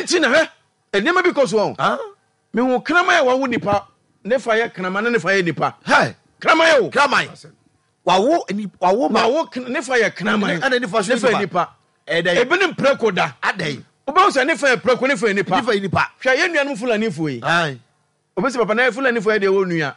nti na hwɛ nneɛma bi kɔ so ɔ. Mehu kraman a wawo nipa ne fa yɛ kraman na ne fa yɛ nipa. Kraman o. Kraman. Wawo wawo ma. Wawo ne fa yɛ kraman. Ɛna ne fa so yɛ nipa. Ɛdɛn. Ebi ne mprako da. Adɛn. Wobɛhu sɛ ne fa yɛ prako ne fa yɛ nipa. Ne fa yɛ nipa. Hwɛ yɛn nuanom Fulanifoɔ yi. Obi sɛ papa na Fulani fo yɛ deɛ wɔ nua.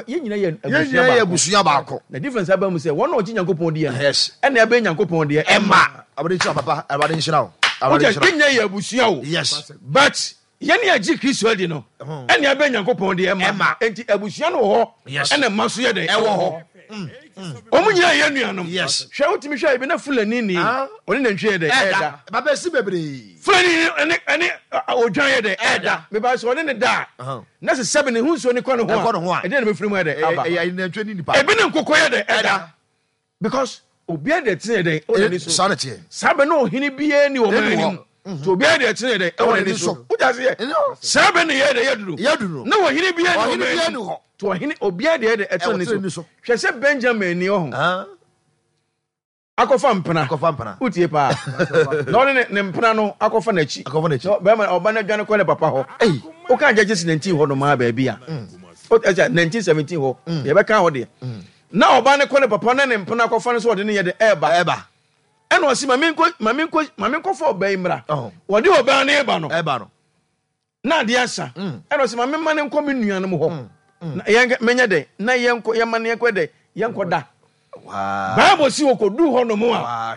Yɛn nyina yɛ abusua baako. Yɛn nyina yɛ abusua baako. Na difference aba mu sɛ wɔn a wɔgye Nyankopɔn diɛ no. Yes. Ɛna ɛbɛn Nyankopɔn deɛ ɛma. Awurade nhyira papa. Awurade nhyira wo. Awurade nhyira. Yɛn nyina yɛ abusua o. Yes. But yɛn a gye Kristo adi no ɛna ɛbɛn Nyankopɔn deɛ ɛma. Enti abusua no wɔ hɔ. Yes. Ɛna ɛma nso yɛ dɛ ɛwɔ hɔ. Wɔn nyinaa yɛ nuanom. Yes. Hwɛ wotumi hwɛ ebi na Fulani ni ɔne nantwie yɛ dɛ ɛda. Baba esi bebree. Fulani ɛne ɛne odwan yɛ dɛ ɛda. Meba sɛ ɔne ne da a na sɛ sɛbi ne ho nsuo ne kɔ ne ho a ɛdeɛ na bɛfiri mu yɛ dɛ aba. Ɛyɛ nantwie ne nipa. Ebi ne nkokɔ yɛ dɛ ɛda. Because obiara deɛ tene yɛ dɛ ɛwɔ n'ani so. Saa na teɛ. Saa bɛ na ɔhene biara ni wɔn anim. Nti obiara deɛ tene yɛ dɛ ɛwɔ n'ani so. Wogya se yɛ. Saa bɛ ne yɛ dɛ yɛ duro. Yɛ duro. Na ɔhene biara ni wɔn anim. Nti ɔhene obiara deɛ yɛ dɛ ɛtene n'ani so. Hwɛ sɛ Benjamin ni ɔho. Akɔfa mpena. Akɔfa mpena. Wotie paa. Na ɔne ne ne mpena no akɔfa n'akyi. Akɔfa n'akyi. Na bɛrima ɔba no adwane kɔ ne papa hɔ. Ei. Woka Judges 19 hɔ nom a baabi a. O ɛsɛ 1917 hɔ. Yɛbɛka hɔ deɛ. Na ɔba no kɔ ne papa na ne mpena akɔfa no sɛ ɔde ne yɛ de ɛɛba. Ɛɛba. Ɛna ɔse ma menkɔ ma menkɔ ma menkɔfa ɔbaa yi mmra. Ɔho. Wɔde ɔbaa no reba no. Ɛɛba no. Na adeɛ asa. Ɛna ɔse ma memma no nkɔ me nuanom hɔ. Na yɛn menyɛ dɛn? Na yɛnkɔ yɛma no yɛnkɔ dɛn? Yɛnkɔ da. Bible se wɔkɔduu hɔ nom a,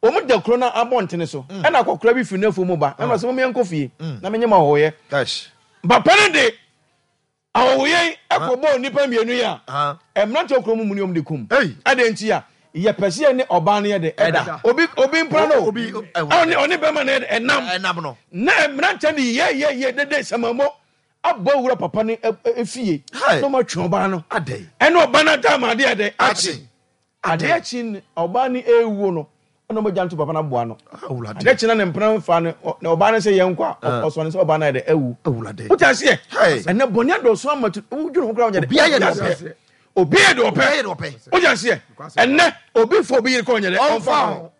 wɔn da kuro no abɔntene so. Ɛna akɔkora bi firi n'afuo mu ba. Ɛna ɔse mom yɛnkɔ fie na menye mo ahɔhoyɛ. Papa no de Ahɔhoyɛ yi kɔbɔɔ nnipa mmienu yi a mmeranteɛ wɔ kurom mu ne wɔn de kum. Adɛn nti a? Yɛpɛ sɛ yɛne ɔbaa no yɛ dɛ ɛda. Obi obi mpra no ɔne ɔne bɛrima no yɛ dɛ ɛnam. Na mmeranteɛ no yɛ yɛ yɛ dede samamɔ abɔ awura papa no efie na wɔn atwe ɔbaa no. Ɛne ɔbaa no ada ama adeɛ dɛ akye. Adeɛ kye no, ɔbaa no rewuo no, ɛna ɔmo gya no to papa no aboa no. Adeɛ kye na ne mpena fa no, na ɔbaa no sɛ yɛn nkɔ a, ɔsɔ ne sɛ ɔbaa no ayɛ dɛ awu. Wote aseɛ? Ɛnɛ bɔne adɔɔso ama tu, wodwene ho koraa wonyɛ dɛ. Obiara yɛ deɛ ɔpɛ. Obiara yɛ deɛ ɔpɛ. Wote aseɛ? Ɛnɛ obi fa obi yere kɔ ɔnyɛ dɛ, ɔmfa ho.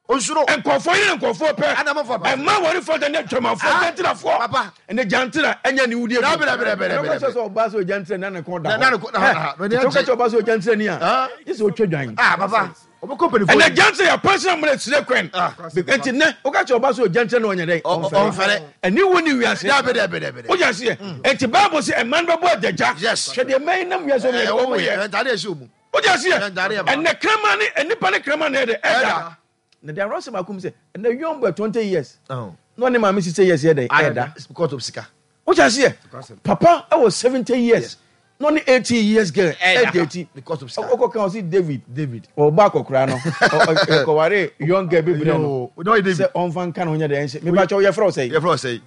Onsuro. Nkurɔfoɔ yere nkurɔfoɔ pɛ. Ɛna mo fa ba. Ɛma wɔn fa ne adwamafoɔ ah, gyantirafoɔ. Papa. Ɛne gyantira ɛnyɛ ne wudie. Dabi dabi dabi dabi. Ɛna kɔsɛ sɛ ɔbaa sɛ ɔgyantira ni ne kɔn da hɔ. Na ne kɔn da hɔ. Tete kɔsɛ sɛ ɔbaa sɛ ɔgyantira ni a. Gye sɛ ɔtwa dwan. Ah papa. Ɔbɛkɔ mpanyinfoɔ. Ɛnɛ gyantira yɛ pɛnsɛn amuna esire kwan. Nti nɛ ɔka kyerɛ ɔbaa sɛ ɔgyantira ni ɔnyɛ dɛ. Ɔnfɛrɛ. Ɛni wo ni wiase. Dabi dabi dabi. O jɛ seɛ. Nti baabu sɛ ɛman bɛ bɔ adagya. Yes. Hwɛ deɛ mɛn nam wiase ɔmo yɛ. Ɛntade ɛhyɛ ɔmu. Wode aseɛ? Ɛnɛ kraman ne nnipa ne kraman na ɛdɛ ɛda. Na deɛ awerɛsɛm baako mu sɛ ɛnɛ young boy 20 years na ɔne maame 60 years yɛ dɛ ɛda. Because of sika. Wode aseɛ? Papa ɛwɔ 70 years na ɔne 18 years girl ɛda akyi. Because of sika. Ɔkɔ kan ɔsi David. David. Ɔba akɔkora no ɔkɔware young girl bi brɛ no sɛ ɔnfa nka ne ho nyɛ dɛ ɛnhyɛ. Mepa kyɛw yɛfrɛ wo sɛn? Yɛfrɛ wo sɛn?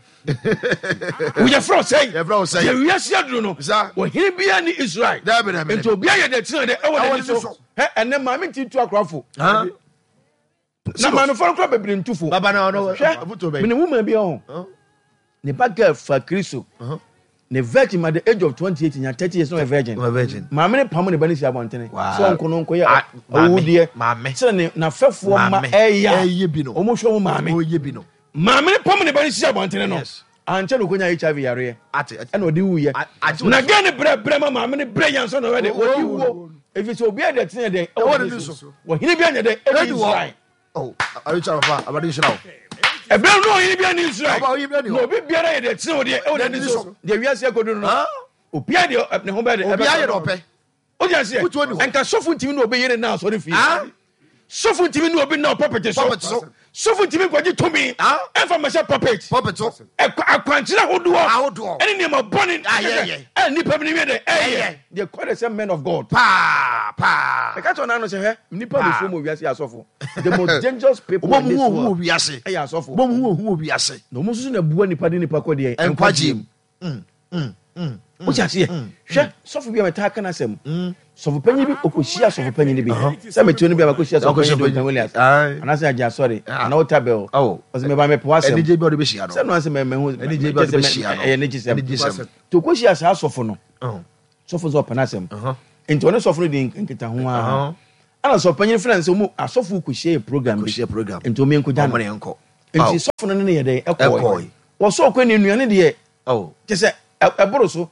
Woyɛ frɛ sɛn? Yɛfrɛ wo sɛn? Deɛ wiase aduru no, ɔhene biara ni Israel. Nti obiara yɛ deɛ tena dɛ ɛwɔ n'ani so. Hɛ ɛnɛ maame nti tu akorafo. Na maamefo no kora bebree ntu fo. Hwɛ, mene woman bi ɔho. Ne ba girl fa Kristo. Ne virgin at the age of 28 nya 30 years na ɔyɛ virgin. Maame ne pam ne ba ne si abɔntene. Sɛ ɔnko no nkɔyɛ awudeɛ. Sɛ ne n'afɛfoɔ ma ɛyɛ a wɔn hwɛ wɔn maame. Maame no pam ne ba no sii abɔntene no, ankyɛ na ɔkɔnya HIV yareɛ ɛna ɔde wuiɛ. Na gɛn no brɛ brɛ ma maame no brɛ yɛ ansa na ɔyɛ dɛ ɔde wuo. Ɛfiri sɛ obiara deɛ teneɛ dɛn ɛwɔ n'ani so. Ɔhene bi anyɛ dɛn ɛne Israel. Ɛberɛ no ɔhene bi ani Israel. Na obi biara yɛ deɛ tene wɔ deɛ ɛwɔ n'ani so. Deɛ wiase akɔduru no, obiara deɛ ne ho bɛyɛ dɛ Obiara yɛ deɛ ɔpɛ. O ti aseɛ nka sɔfo ntumi ne obi yere na asɔre fie sɔfo ntumi ne obi na pulpit so sɔfo ntumi nkɔgye tumi ɛnfa mmɛhyɛ pulpit akwankyerɛ ahodoɔ ɛne nneɛma bɔne ɛ nipa bi ne wiɛ dɛ ɛyɛ they call themselves men of God paa paa ɛka kyerɛ ɔnano sɛ hwɛ nipa bɛ fom wɔ wiase yɛ asɔfo the most dangerous people in this world ɛyɛ asɔfo na wɔn nso na bua nipa de nipa kɔ deɛ nkwagye mu. Wote aseɛ? Hwɛ sɔfo bi a metaa ka n'asɛm. Sɔfo panyin bi ɔkɔhyia sɔfo panyin bi. Sɛ metuo no bi a makɔhyia sɔfo panyin Duncan Williams. Anaasɛ Agye Asɔre anaa Otabel. Ɔsɛ meba mepɛ w'asɛm. Anigye bi a ɔde bɛhyia no. Sɛ no asɛ mɛhu Anigye bi a ɔde bɛhyia no. Ɛyɛ anigyesɛm. Nti ɔkɔhyia saa sɔfo no. Sɔfo nso ɔpɛ n'asɛm. Nti ɔne sɔfo no di nkitaho ara. Ɛna sɔfo panyin frɛ no sɛ ɔmu asɔfo kɔhyia yɛ program bi. Nti ɔmu yɛnkɔgya no. Nti sɔfo no ne no yɛ dɛn? Ɛkɔe. Wɔsɔɔ kɔ ne nnuane deɛ, kyɛ sɛ ɛboro so.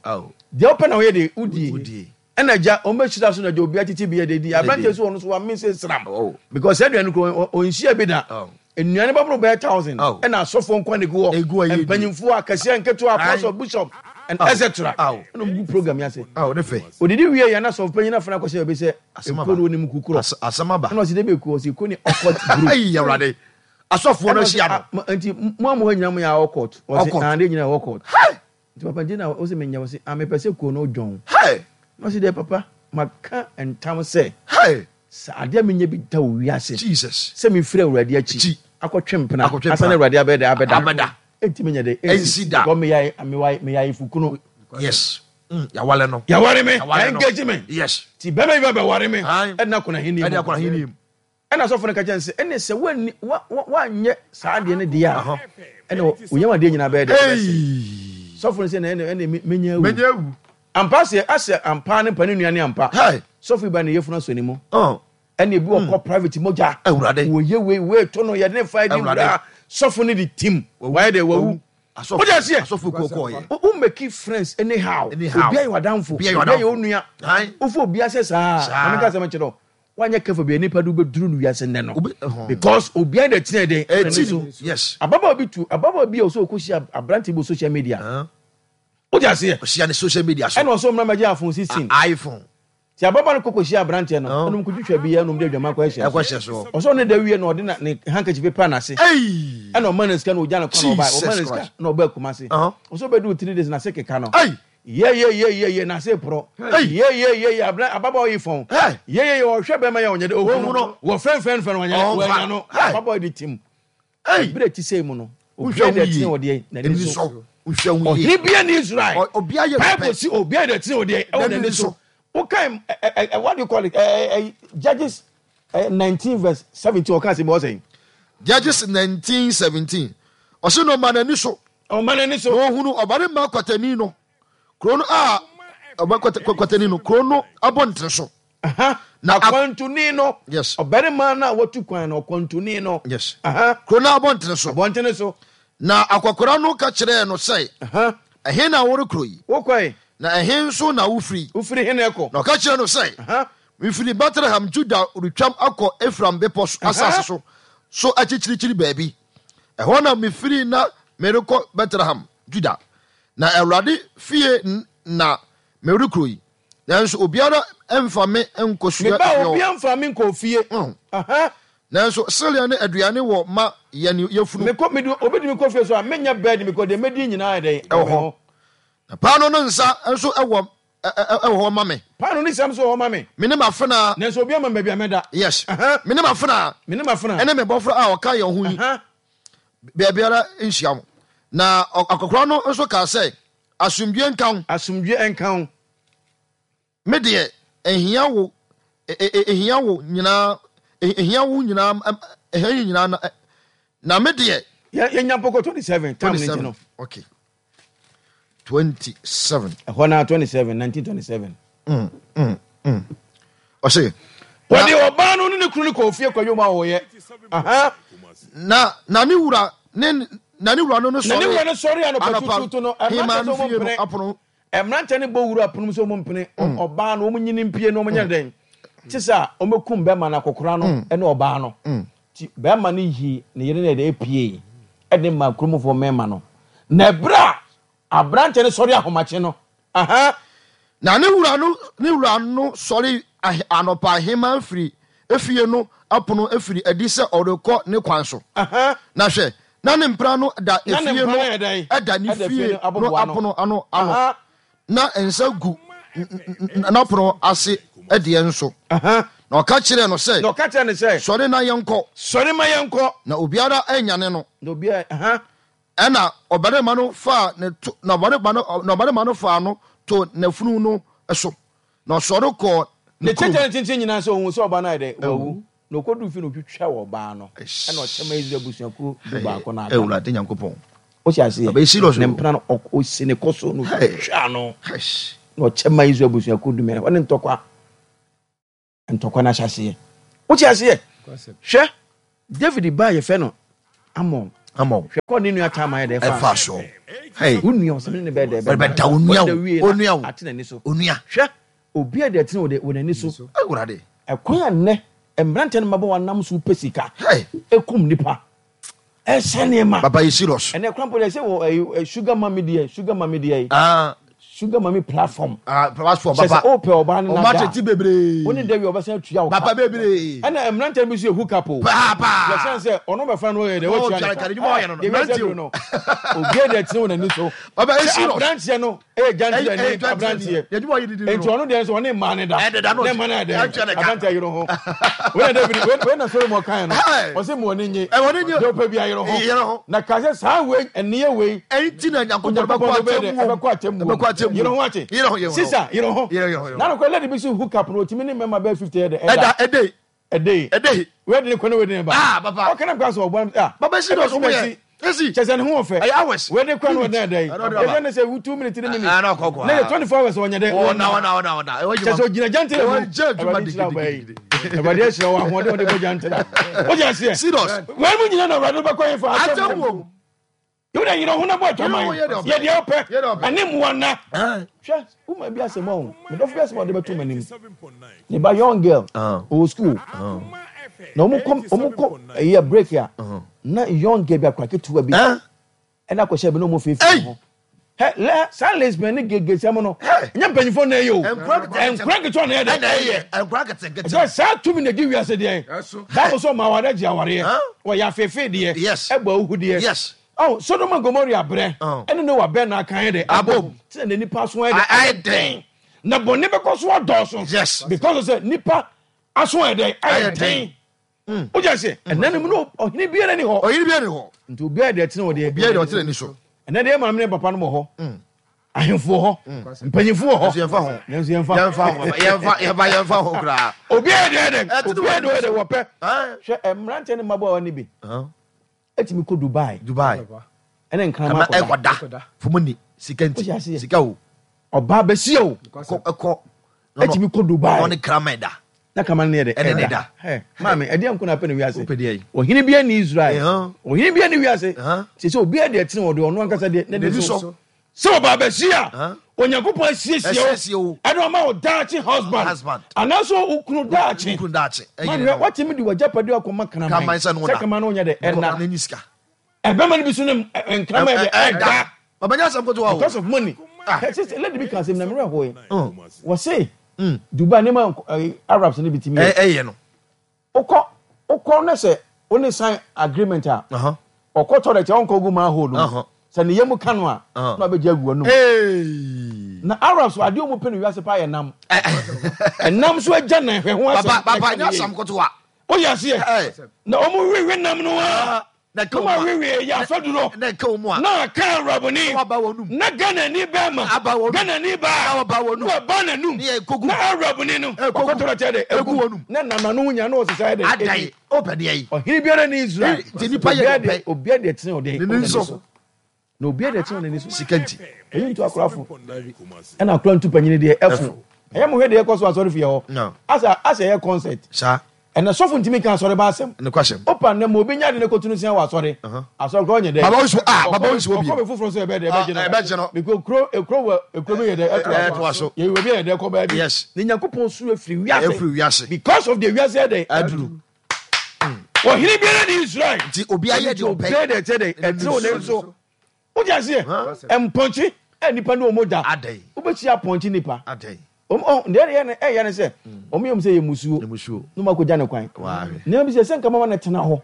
Deɛ wopɛ na woyɛ deɛ wodie. Ɛna agya wɔn bɛhyira so na agya obiara tete bi yɛ deɛ di. Aberanteɛ so wɔn so wɔame sɛ sram. Because saa aduane kuro ɔnhyia bi da. Nnuane bɛboro bɛyɛ 1000. Ɛna asɔfoɔ nkwa na egu hɔ. Mpanyinfoɔ akɛseɛ nketewa apostle bishop and etc. Ɛna wɔn gu program yi ase. Odidi wie yɛn na sɔfo panyin afana akɔhyɛ baabi sɛ ekuo no wɔnim kukorɔ. Ɛna ɔsi de bɛ ekuo ɔsi ekuo ne ɔkɔt group. Asɔfoɔ no ahyia no. Nti mo a mo ha nyinaa mo yɛ awɔkɔt. Ɔsi ah de nyinaa awɔkɔt. Nti papa nti na ɔsi menyɛ ɔsi ah mepɛ sɛ kuo no dwɔn. Na ɔsi dɛ papa maka ntam sɛ. Sɛ adeɛ menyɛ bi da wɔ wiase. Jesus. Sɛ mefiri Awurade akyi. Akɔtwe mpena. Ansa na Awurade abɛyɛ dɛ abɛda. Enti menyɛ dɛ. Ɛnsi da. Because meyɛ meyɛ ayefokunu. Yes. Yawale no. Yaware me. Engage me. Yes. Ti bɛrɛ bi bɛ bɛware me. Ɛna kɔnɔ ahenni mu. Ɛna kɔnɔ ahenni mu. Ɛnna asɔfo no ka kyerɛɛ no sɛ, Ɛnne sɛ woanni, wa, wa, woanyɛ saa adeɛ no deɛ a, ɛnna wo yam adeɛ nyinaa bɛyɛ dɛ, ɛbɛsɛe. Sɔfo no sɛ, Na ɛnne, ɛnne me, menya awu. Menya awu. Ampa sɛ, asɛ ampa ne mpa ne nua ne ampa. Hey. Sɔfo yi ba ne yafunu asɔ ne mu. Oh. Ɛnna ebi wɔ kɔ private mogya. Awurade. Wɔyɛ wei, wei to no, yɛde ne fa di Awurade. wura. Sɔfo no de tim. Wawu. Wayɛ dɛ, wawu. Wawu. Asɔfo, Wode aseɛ? asɔfo kuo kɔɔyɛ. Wo make friends anyhow. Anyhow. Obi ayɛ w'adamfo. Obi ayɛ Obi ayɛ w'adamfo. wo nua. Aye. Wofa obi asɛ saa. Saa. Maame ka asɛm nkyerɛ wo. Wanyɛ careful bia nipa de wobɛduru no wiase nnɛ no. Obi ɛhɔn. Because obiara na ɛtena dɛn ɛna ne Ɛti so. no. Yes. Ababaawa bi tu ababaawa bi a ɔsɛ ɔkɔhyia aberante bi wɔ social media. Huh? Wote aseɛ? Ɔhyia ne social media so. Ɛna ɔsɛ ɔmmra mmɛgye iPhone 16. A iPhone. Nti ababaawa no kɔkɔhyia aberanteɛ no Huh? ɛna ɔmkɔtwitwa bi ɛna ɔmde adwaman kɔ ɛhyɛ Ɛkɔ so. hyɛ soɔ. Ɔsɛ ɔne da wie na ɔde na ne handkerchief pepa n'ase. Ei! Ɛna ɔma no sika na ɔgya no kwan na ɔbae. Ɔma Jesus no sika Christ. na ɔbaa Kumasi. Uh-huh. Ɔsɛ ɔbɛduru 3 days n'ase keka no. Ei! Yeyeyeyeye n'ase porɔ. Hey! Yeyeyeye abena ababaawa yi fɔn. Hey! Yeyeye ɔhwɛ bɛrima yi a ɔnyɛ dɛ Ohun ohun no. no. Wɔfɛnfɛn fɛn ɔnyɛ dɛ Ɔnfa. wɔanya no. Hey! Ababaawa yi de tim. Hey! Ebere ti sɛ mu no. Wohwɛ Obiara ho de yie. ɛtene wɔ deɛ n'ani Ani so. so. Wohwɛ ho yie. Ɔhene bia ni Israel. Obiara yɛ Bible pɛ. si obiara de ɛtene wɔ deɛ ɛwɔ N'ani n'ani so. so. Wokan ɛ ɛ ɛ what do you call it? Ɛ ɛ Judges 19 verse 17 ɔka asɛm bi ɔsɛn. Judges 19:17. Ɔse na ɔma n'ani so. Ɔma n'ani so. Na ɔhunu ɔbarima kwatani no. Kuro no a ɔba kwatani no kuro no abɔntene so. Na akwantuni no. Yes. Ɔbarima no a watu kwan no ɔkwantuni no. Yes. Kuro no abɔntene so. Abɔntene so. Na akɔkora no ka kyerɛɛ no sɛ. Ɛhe na worekorɔ yi? Wokɔe. Na ɛhe nso na wofiri? Wofiri he na ɛkɔ? Na ɔka kyerɛɛ no sɛ. Mefiri Betlehem Juda retwam akɔ Efraim bepɔ asase so so akyirikyiri baabi. Ɛhɔ na mefiri na merekɔ Betlehem Juda. Na Awurade fie na merekɔ yi, nanso obiara mfa me nkɔsua Meba fie hɔ. obiara mfa me nkɔ fie. Nanso sereɛ ne aduane wɔ ma yɛn yafunu. Mekɔ, mede, obi de me kɔ fie so a, menyɛ bɛɛdi, mekɔ deɛ mɛdi nyinaa yɛ dɛn? Ɛwɔ hɔ. Na paano ne nsa nso wɔ wɔ hɔ ma me. Paano ne siam nso wɔ hɔ ma me. Me ne m'afenaa. Nanso obiara mma me baabi a mɛda. Yes. Me ne m'afenaa. Me ne m'afenaa. Ɛne me bɔfra a ɔka yɛn ho yi. Baabiara nhyia wo. Na akɔkoraa no nso kaa sɛ, Asomdwoeɛ nka wo. Asomdwoeɛ nka wo. Me deɛ, ɛhia wo, ɛhia wo nyinaa, ɛhia wo nyinaa, ɛhia yɛn nyinaa na, na me deɛ. Yɛnya mpɔkɔ 27, tam no nti no. Okay. 27. Ɛhɔ na 27, 1927. Ɔse. Wɔde ɔbaa no ne ne kunu no kɔɔ fie kɔyɛ wɔn a wɔyɛ. Na na ne wura ne na ne wura no no sɔre. Na ne wura no sɔre anɔpa tutuutu no. Hema no fie no apono. Mmeranteɛ no bɔ wura pono mu sɛ wɔn mpene ɔbaa no wɔn nyini mpie no wɔn nyɛ dɛn. Te sɛ a wɔbɛkum bɛrima no akɔkora no ne ɔbaa no. Ti bɛrima no yi ne yere no yɛ dɛ epie ɛde ma kuromfoɔ mmarima no. Na ɛberɛ a aberanteɛ no sɔre ahomakye no. Aha. Na ne wura no ne wura no sɔre anɔpa hema firi efie no apono firi adi sɛ ɔrekɔ ne kwan so. Aha. Na hwɛ, na ne mpena no da Na ne efie mpena no no yɛ dɛn? ɛda ne Ɛda fie fie no no abobow ano. apono ano ano, Aha. na nsa gu n'apono ase deɛ nso. Aha. Na ɔka kyerɛɛ no sɛ, Na ɔka kyerɛɛ no sɛ, Sɔre na yɛnkɔ. Sɔre ma yɛnkɔ. Na obiara annyane no. Na obiara, aha. Ɛnna ɔbarima no faa ne to, na ɔbarima no, na ɔbarima no faa no too n'afunu no so, na ɔsɔre kɔɔ ne Ne kurom. kyɛkyɛ ne tenten nyinaa sɛ ohuu sɛ ɔbaa no ayɛ dɛ? Wawu. Na okoduu fie no, otwitwaa ɔbaa no, ɛnna ɔkyɛ maa Israel abusuakuo dubaako no aka no. Awurade Nyankopɔn. Wote aseɛ? Ɛbɛyɛ serious Ne o. mpena no, ɔsi ne kɔ so na otwitwaa no, Eish. na ɔkyɛ maa Israel abusuakuo dumiɛnsa. Ɛhɔ ne ntɔkwa. Ntɔkwa no ahyɛaseɛ. Wote aseɛ? Hwɛ, David ba a yɛfrɛ no Amon. Ama wo. Hwɛ kɔ ne nua Tamar yɛ dɛ ɛfa so. Hey. Wo nua ɔsɛ ne ne bɛyɛ dɛ bɛda wo nua wo. Onua wo. Ate n'ani so. Onua. Hwɛ obi a deɛ ɛtene wɔ wɔ n'ani so. Awurade. Ɛkwan a nnɛ mmeranteɛ ne mmabaawa nam so pɛ sika. Hey. Ekum nipa. Ɛhyɛ nneɛma. Papa yɛ serious. Ɛnɛ kwan po deɛ sɛ wɔ ɛyi sugar mummy deɛ sugar mummy deɛ yi. Ah. Sugar mummy platform. Ah platform papa. Kyɛ sɛ o pɛ ɔbaa no nada. Ɔmo atete bebree. Wo ne Dewi ɔbɛsan atua wo ka. Papa bebree. Ɛna mmeranteɛ bi nso yɛ hook up o. Papa. Yɛsan sɛ ɔno bɛfa no ɔyɛ dɛ watua ne ka. Adwuma ɔyɛ no no. Deɛ wiase aduru no. Obiara deɛ tene wɔ n'ani so. Papa yɛ serious. Sɛ aberanteɛ no ɛyɛ gyantirɛ ne aberanteɛ. Nti ɔno deɛ nso ɔne mmaa ne da. Ne mmaa no ayɛ dɛ. Aberanteɛ yere ho. Wei na David wei na Solomon kan no. Ɔsɛ mu ɔne nye. Deɛ ɔpɛ bi ayere ho. Na ka sɛ saa wei ɛneyɛ wei. Ɛnti na Nyankopɔn bɛkɔ atemmuo. Bɛkɔ atemmuo. Yere ho ate. Yere ho yere ho. Sisa yere ho. Yere ho. Na nokora lady bi so hook up no otimi ne mmarima bɛyɛ 50 yɛ dɛ. Ɛda ɛdɛ. Ɛdɛ. Ɛdɛ. Wei de ne kɔ ne wei de ne ba. Ah papa. Ɔka na kora sɛ ɔbɔ ah. Papa si dɔs ɔmo yɛ. Esi. Kyɛ sɛ ne ho ɔfɛ. Ɛyɛ hours. Wei de kɔ ne ɔdɛn ɛdɛ yi. Ɛdɛ ne sɛ 2 minutes 3 minutes. Ah na ɔkɔ kɔ. Ne yɛ 24 hours ɔnyɛ dɛ. Ɔna ɔna ɔna ɔna. Kyɛ sɛ ogyina gyantere mu. Ɛwɔ gye adwuma gidigidi. Awurade ahyira wo ahoɔden ɔde bɔ gyantere. Wogye aseɛ. Serious. Wei mu nyina na Awurade bɛkɔ yɛn fa atemmuo. Wo deɛ yerɛ ho na bɔ adwaman yɛ deɛ wopɛ ɛne mmoa nna. Hwɛ woman bi asɛm ɔho medɔfo bi asɛm a ɔde bɛto m'anim ne ba young girl ɔwɔ school na wɔn kɔ wɔn kɔ ɛyɛ break a na young girl bi akora ketewa bi ɛna akɔhyɛ bi na wɔn feefee ho hɛ lɛ saa lesbian ne gay gay sɛm no nyɛ mpanyinfoɔ na ɛyɛ o nkora nketewa na ɛyɛ dɛ ɛsɛ saa tumi na ɛdi wiase deɛ Bible sɛ ɔma awareɛ gye awareɛ wɔyɛ afeefee deɛ ɛbɔ ahuhu deɛ oh Sodom and Gomorrah berɛ ɛne Noah bɛ na aka yɛ dɛ abom sɛ na nipa aso ayɛ dɛ ayɛ den na bɔne bɛkɔ so adɔɔso because sɛ nipa aso ayɛ dɛ ayɛ den wogya sɛ ɛnna no mu no ɔhene biara ni hɔ ɔhene biara ni hɔ nti obiara deɛ ɛtene wɔ deɛ obiara deɛ ɔtene ni so ɛnɛ deɛ maame ne papa no wɔ hɔ ahemfo wɔ hɔ mpanyinfo wɔ hɔ nanso yɛmfa ho nanso yɛmfa yɛmfa ho yɛmfa yɛmfa yɛmfa ho koraa obiara deɛ dɛ obiara deɛ ɔyɛ dɛ wɔpɛ hwɛ mmeranteɛ ne mmabaawa no bi ɛtumi kɔ Dubai Dubai ɛne nkrama akɔda ɛkɔda fom ni sika nti sika o ɔbaa bɛsi o ɛkɔ ɛtumi kɔ Dubai ɔne kraman da na kraman no yɛ dɛ ɛne ne da maame ɛdeɛ nko na apɛ no wiase ɔhene bi ani Israel ɔhene bi ani wiase sɛ sɛ obiara deɛ ɛtene ɔde ɔno ankasa deɛ ne de so sɛ ɔbaa bɛsi a Onyankopɔn asiesie wo ɛna ɔma wo daakye husband anaasɛ wo kunu daakye maame watumi de w'agyapadeɛ akɔma kraman sɛ kraman no nyɛ dɛ ɛna ɛbɛma no bi so ne nkraman yɛ dɛ ɛda because of money ah. Lady bi ka asɛm na mmerɛ hɔ yi wɔse Dubai nneɛma Arabs no bi tumi yɛ ɛyɛ no Wokɔ wokɔ na sɛ wo ne sign agreement a, ɔkɔ toilet a ɔnkɔ gu manhole no mu. Sɛ ne yam ka no a, na wabɛgye agu w'anum. Na Arabs adeɛ wɔn pɛ no wiase paa yɛ nam. Ɛnam so agya nan hwɛ ho asɛm. Papa papa nyɛ asɛm kotoa. Woyɛ aseɛ. Na wɔn wewe nam no a. Na ɛka wɔn a. Wewe yɛ afaduro. Na ɛka wɔn a. Na aka Arabni. Na waba wɔn num. Na Ghanani bɛrima. Aba wɔn num. Ghanani baa. Na waba wɔn num. Na waba n'anum. Ne yɛ ekogu. Na Arabni no. Ekogu. Ɔkɔtɔrɔ kyɛ dɛ. Egu wɔn num. Na nam n'ano ho nyinaa na ɔsesa yɛ dɛ. Adan ɔpɛ deɛ yi. Ɔhene biara ni Israel. Nti nipa yɛ deɛ ɔpɛ. Obiara deɛ tene ɔde. Ne ni so. Na obiara deɛ ɛtene n'ani so. Sika nti. Eyi ntu akorafo. Ɛna akora ntu panyini deɛ ɛfo. Ɛyɛ mo hwɛ deɛ ɛkɔ so asɔre fie hɔ. Asa asa ɛyɛ concert. Saa. Ɛnɛ sɔfo ntumi nka asɔre ba asɛm. Nokwasɛm. Opa nnɛ ma obi nya de ne kɔtu no sia wɔ asɔre. Asɔre kora ɔnyɛ dɛ. Baba nso ah baba nso obi. Ɔkɔ bɛ foforɔ nso ɛbɛ dɛ ɛbɛgye no. Ɛbɛgye no. Because kuro ekuro wɔ ekuro bi yɛ dɛ ɛtoa so. Yɛ wɔ bi yɛ dɛ kɔ baabi. Yes. Ne Nyankopɔn soro efiri wiase. Efiri wiase. Because of the wiase yɛ dɛ. Aduru. Ɔhene biara ni Israel. Nti obi ayɛ deɛ ɔpɛ. Obiara deɛ ɛkyɛ dɛ ɛtew ne nso. Wogye aseɛ? Mpɔnkye a nipa ne wɔn da. Wobɛhyia apɔnkye nipa. Deɛ ɛyɛ no ɛyɛ ne sɛ wɔn yɛ wɔn sɛ yɛ musuo. Na wɔn akɔgya ne kwan. Nneɛma bi sɛ sɛ nka mama no tena hɔ.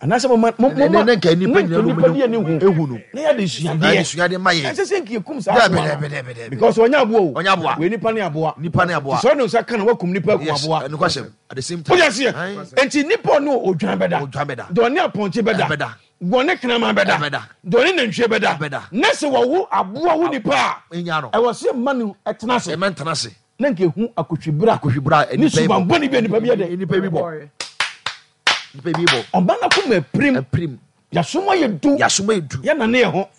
Anaasɛ mama mama ne nka nipa nyina nipa di ani hu no. Na yɛ de suadeɛ. Suadeɛ ma yɛ. Ɛsɛ sɛ nka yɛkum saa aboa no. Because ɔnyɛ aboa o. Ɔnyɛ aboa. Wei nipa ne aboa. Nipa ne aboa. Sɛ ɔne nsa ka na wakum nipa akum aboa. Yes, ɛnokwasɛm. At the same time. Wogye aseɛ? Nti nipa ɔne odwan bɛda. Odwan bɛda. Deɛ ɔne apɔnkye bɛda. Ɛbɛda. Deɛ ɔne kraman bɛda. Ɛbɛda. Deɛ ɔne nantwie bɛda. Ɛbɛda. Na sɛ wɔwo aboa wo nipa a. Enya no. Ɛwɔ sɛ mma no ɛtena ase. Ɛmɛ ntena ase. Na nka ehu akohwibra. Akohwibra ne suban bɔne bi a nipa bi yɛ dɛ. Nipa bi bɔ. Nipa bi bɔ. Ɔba no akoma apirim. Apirim. Yasom ayɛ du. Yasom ayɛ du. Yɛnane yɛ ho.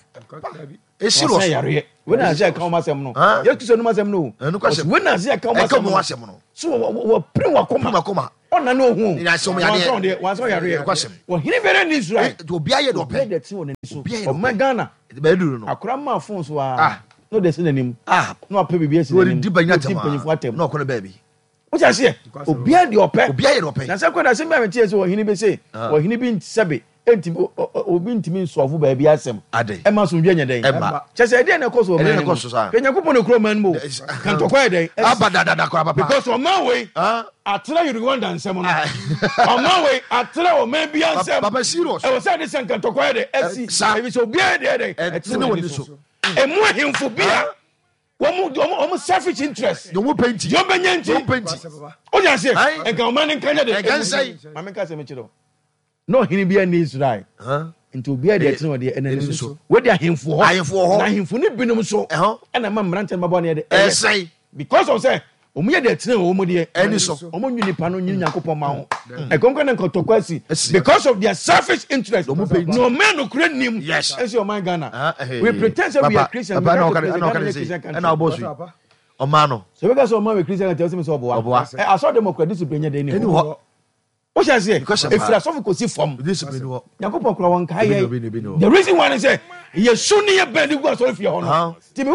Esi wɔ so. Yareɛ. Wei na ase ɛka wɔn asɛm no. Yesu Kristo anum asɛm no o. Ɛnu kwasɛm. Wei na ase ɛka wɔn asɛm no. No. So wɔ wɔ pirim wakoma. Pirim wakoma. Ɔna ne ohu. Ne nyinaa sɛ ɔmo yadeɛ. Wansa ɔdeɛ, wansa ɔyareɛ. Nokwasɛm. Ɔhene biara nni Israel. Eh, nti obiara yɛ deɛ ɔpɛ. Obiara deɛ ɛte wɔ n'ani so. Obiara yɛ deɛ Ɔman ɔpɛ. Ghana. Bɛyɛ duru no. Akora maa phone so aa. Ah. Na ɔde asi n'anim. Ah. Na wapɛ biribi asi Na n'anim. ɔredi banyin Na ɔdi atɛm aa. mpanyinfoɔ atɛm. Na ɔkɔ ne baabi. Wote aseɛ? Obiara deɛ ɔpɛ. Obiara yɛ deɛ ɔpɛ. Na sɛ kɔ na asɛm bi a meteɛ sɛ ɔhene bi se, Ah. ɔhene bi sɛbe ntumi obi ntumi nsɔfo baabi asɛm. Adɛn? Ɛma asomdwe nyɛ dɛn? Ɛmma. Kyɛ sɛ ɛdeɛn na ɛkɔ so Ɛdeɛn ɔman na no mu? ɛkɔ so saa? Hwɛ Nyankopɔn na ɛkura ɔman no mu o. Ka ntɔkwa yɛ dɛn? Asi. Aba dadada koraa papa. Because ɔman wei Ah. atra Rwanda nsɛm no. Ah. Ɔman wei atra ɔman biara nsɛm. Papa serious. Ɛwɔ sɛ ɛde sɛ nka ntɔkwa yɛ dɛn? Asi. Saa. Ɛfiri sɛ obiara deɛ yɛ dɛn? Ɛtene wɔ ne so. Ɛmu ahemfo bi a wɔn wɔn wɔn selfish interest. Deɛ wɔn pɛ nti. Deɛ wɔn bɛnya nti. Deɛ wɔn pɛ nti. O de aseɛ. Ayi. Nka ɔman ne nka nyɛ de. Nka nsɛn. Maame nka sɛ mekyerɛ o. Na ɔhene bi ani Israel. Nti obiara deɛ ɛtene ɔdeɛ ɛna ne so. Wei de ahemfo hɔ. Ahemfo hɔ. Na ahemfo ne binom so. Ɛna ma mmeranteɛ no bɛbɔ ne yɛ de. Ɛsɛn. Because of sɛ wɔn yɛ deɛ ɛtene wɔn deɛ. Ɛni so. Wɔn nyi nipa no nyi Nyankopɔn ma ho. Ɛkɔnkɔn na nkɔtɔkɔ asi. Because of their selfish interest. Na ɔman nokura nim. Yes. Ɛnso ɔman Ghana. We pretend say we are Christian. Papa na ɔka na ɔka ne se ɛna ɔbɔ so yi. Ɔman no. Sɛ bɛka sɛ ɔman wɛ Christian country ɔsɛ mi sɛ ɔboa. Ɔboa. Ɛ asɔ democrat discipline nyɛ dɛ ni hɔ. Ɛni hɔ. Wohyɛ aseɛ ɛfiri asɔfo kɔsi fam. Discipline ni hɔ. Nyankopɔn kora wɔn nkae yɛ. The reason why ne sɛ yɛ su ne yɛ bɛn de gu asɔre fie hɔ no. Ti mi.